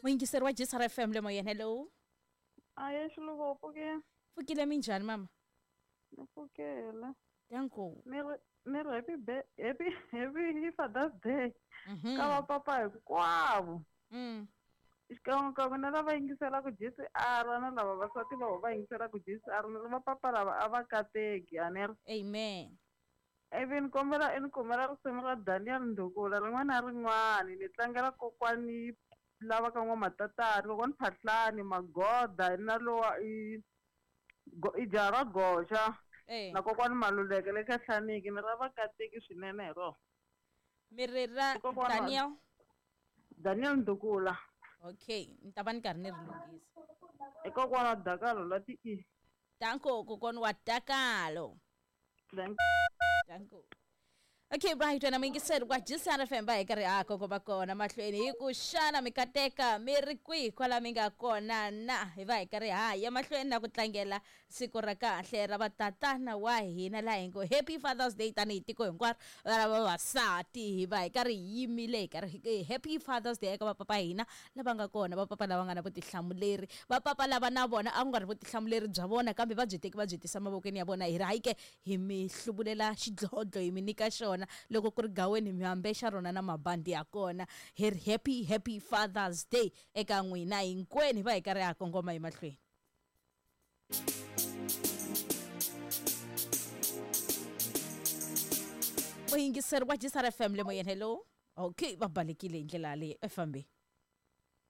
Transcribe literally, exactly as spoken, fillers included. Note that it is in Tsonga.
Muyingiseri wa G S R F M le moyeni, hello. Aye, Xiluva, u pfukile? Pfukile, minjhani mama? Ni pfukile. Danko. Ni ri, ni ri happy be-, happy, happy Father's Day. Mhm. Ka va papa hinkwavo. Mm. Xikan'we na lava yingiselaka G C R na lava vasati va va yingiselaka G C R, ni ri va papa lava a va kateki, a ni ri. Amen. Ivi ni kombela, ni kombela risimu ra Daniel Ndukula rin'wana na rin'wana, ni tlangela kokwani lava ka N'wamatatani, kokwani Phahlani, Magoda, na lowa i go-, i jaha ra Goxa, Eh. na kokwani Maluleke le ka Hlaniki, ni ra va kateki swinene hi rona. Mi ri ra Kokwana Daniel? Daniel Ndukula. Okay, ni ta va ni karhi ni ri lunghisa. I kokwana wa Dakalo la ti I. Danko, kokwana wa Dakalo. Danko. Danko. Okay, bye, twana muyingiseri wa G C R F M va hi karhi ha kongoma kona mahlweni hi ku xana mi kateka mi ri kwihi kwala mi nga kona na hi va hi karhi ha ya mahlweni na ku tlangela siku ra kahle ra vatatana wa hina laha hi ngo Happy Father's Day tanihi tiko hinkwaro ra vavasati hi va hi karhi hi yimile hi karhi hi Happy Father's Day eka vapapa hina lava nga kona, vapapa lava nga na vutihlamuleri, vapapa lava na vona a ku nga ri vutihlamuleri bya vona kambe va byi teki va byi tisa mavokweni ya vona, hi ri hayi ke hi mi hluvulela xidlodlo hi mi nyika xona loko ku ri gaweni mi ambexa rona na mabandi ya kona. Hi ri happy, happy Father's Day eka n'wina hinkwenu, hi va hi karhi ha kongoma emahlweni. Muyingiseri wa G S R F M le moyeni, hello. Okay, va balekile hi ndlela leyi, e fambe.